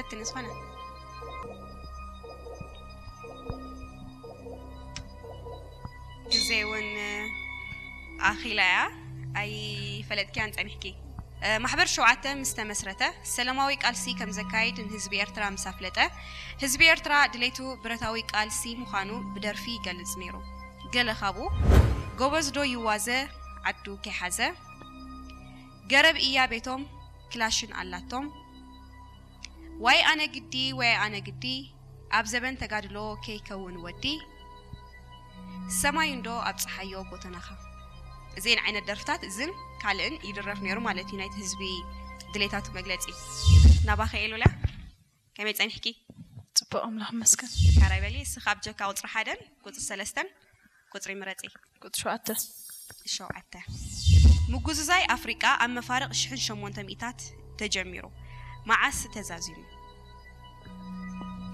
ፈትኒ ዝኾነ ግዜ እውን ኣኺላ እያ። ኣይፈለጥክያን ጸኒሕኪ። ማሕበር ሸውዓተ ምስ ተመስረተ ሰላማዊ ቃልሲ ከም ዘካይድ ንህዝቢ ኤርትራ ምስ ኣፍለጠ፣ ህዝቢ ኤርትራ ድሌቱ ብረታዊ ቃልሲ ምዃኑ ብደርፊ ይገልጽ ነይሩ። ገለ ካብኡ፣ ጎበዝ ዶ ይዋዘ ዓዱ ከይሓዘ፣ ገረብ እያ ቤቶም ክላሽን ኣላቶም፣ ዋይ ኣነ ግዲ ዋይ ኣነ ግዲ፣ ኣብ ዘበን ተጋድሎ ከይከውን ወዲ፣ ሰማይ እንዶ ኣብ ጸሓዮ ጎተናኻ። እዘን ዓይነት ደርፍታት እዝን ካልእን ይድረፍ ነይሩ ማለት እዩ፣ ናይቲ ህዝቢ ድሌታቱ መግለጺ። ናባኸ ኤሉላ፣ ከመይ ጸኒሕኪ? ጽቡቕ፣ ኣምላኽ ይመስገን። ሓራይ በሊ። እስኻ ኣብ ጀካ ቁጽሪ ሓደን ቁጽሪ ሰለስተን ቁጽሪ ምረጺ። ቁጽሪ ሸውዓተ። ሸውዓተ። ምጉዝዛይ ኣፍሪቃ ኣብ መፋርቕ ሽሕን ሸሞንተ ሚእታት ተጀሚሩ፣ መዓስ ተዛዚሙ?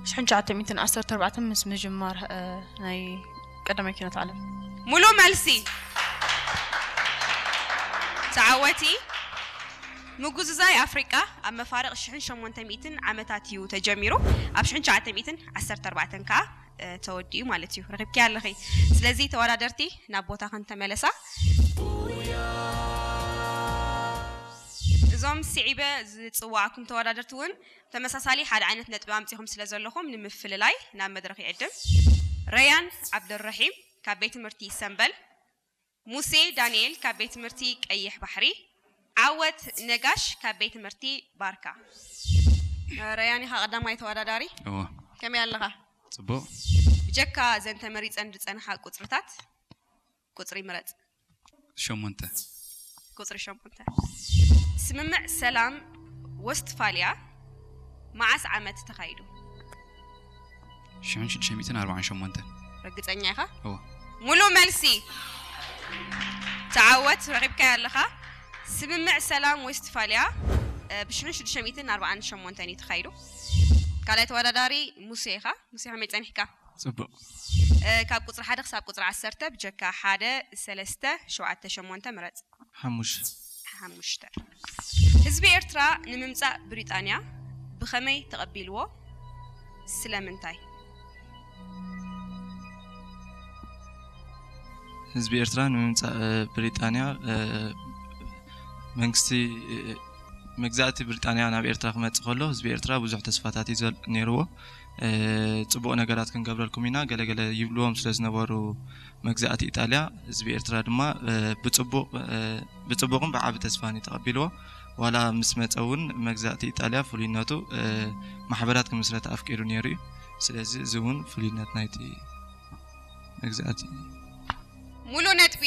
ሽሕን ትሽዓተ ሚእትን ዓሰርተ ኣርባዕተን ምስ ምጅማር እ፣ ናይ ቀዳማይ ኪነት ዓለም። ሙሉእ መልሲ። ተዓወቲ። ምጉዝዛይ ኣፍሪቃ ኣብ መፋርቕ ሽሕን ሸሞንተ ሚእትን ዓመታት እዩ ተጀሚሩ፣ ኣብ ሽሕን ትሽዓተ ሚእትን ዓሰርተ ኣርባዕተን ከኣ እ፣ ተወዲኡ ማለት እዩ። ረኺብኪ ኣለኺ። ስለዚ ተወዳደርቲ ናብ ቦታኽን ተመለሳ። እዞም ስዒበ ዝጽዋዕኩም ተወዳደርቲ እውን ተመሳሳሊ ሓደ ዓይነት ነጥቢ ኣምጺኹም ስለ ዘለኹም ንምፍልላይ ናብ መድረኽ ይዕድም። ረያን ዓብደልረሒም ካብ ቤት ትምህርቲ ሰምበል፣ ሙሴ ዳንኤል ካብ ቤት ትምህርቲ ቀይሕ ባሕሪ፣ ዓወት ነጋሽ ካብ ቤት ትምህርቲ ባርካ። ረያን ኢኻ ቀዳማይ ተወዳዳሪ። እዎ ከመይ ኣለኻ? ጽቡቕ። ብጀካ እዘን ተመሪጸን ዝጸንሓ ቁጽርታት ቁጽሪ ምረጽ። ሸሞንተ። ቁጽሪ ሸሞንተ። ስምምዕ ሰላም ወስትፋልያ መዓስ ዓመት ተኻይዱ? ሽሕን ሽዱሽተ ሚእትን ኣርባዓን ሸሞንተን። ርግጸኛ ኢኻ? እዎ። ሙሉእ መልሲ። ተዓወት፣ ረኺብካዮ ኣለኻ። ስምምዕ ሰላም ወስትፋልያ እ፣ ብ ሽሕን ሽዱሽተ ሚእትን ኣርባዓን ሸሞንተን እዩ ተኻይዱ። ካልኣይ ተወዳዳሪ ሙሴ ኢኻ። ሙሴ ከመይ ጸኒሕካ? ጽቡቕ። እ፣ ካብ ቁጽሪ ሓደ ክሳብ ቁጽሪ ዓሰርተ ብጀካ ሓደ፣ ሰለስተ፣ ሸውዓተ፣ ሸሞንተ ምረጽ። ሓሙሽተ። ሓሙሽተ። ህዝቢ ኤርትራ ንምምጻእ ብሪጣንያ ብኸመይ ተቐቢልዎ? ስለምንታይ? ህዝቢ ኤርትራ ንምምጻእ እ፣ ብሪጣንያ እ፣ መንግስቲ እ፣ መግዛእቲ ብሪጣንያ ናብ ኤርትራ ክመጽእ ከሎ ህዝቢ ኤርትራ ብዙሕ ተስፋታት እዩ ዘል- ነይርዎ። እ፣ ጽቡቕ ነገራት ክንገብረልኩም ኢና ገለገለ ይብልዎም ስለ ዝነበሩ መግዛእቲ ኢጣልያ፣ ህዝቢ ኤርትራ ድማ እ፣ ብጽቡቕ እ፣ ብጽቡቕን ብዓቢ ተስፋን እዩ ተቐቢልዎ። ዋላ ምስ መጸ እውን መግዛእቲ ኢጣልያ ፍሉይነቱ እ፣ ማሕበራት ክምስረት ኣፍቂዱ ነይሩ እዩ። ስለዚ እዚ እውን ፍሉይነት ናይቲ መግዛእቲ እዩ። ሙሉእ ነጥቢ።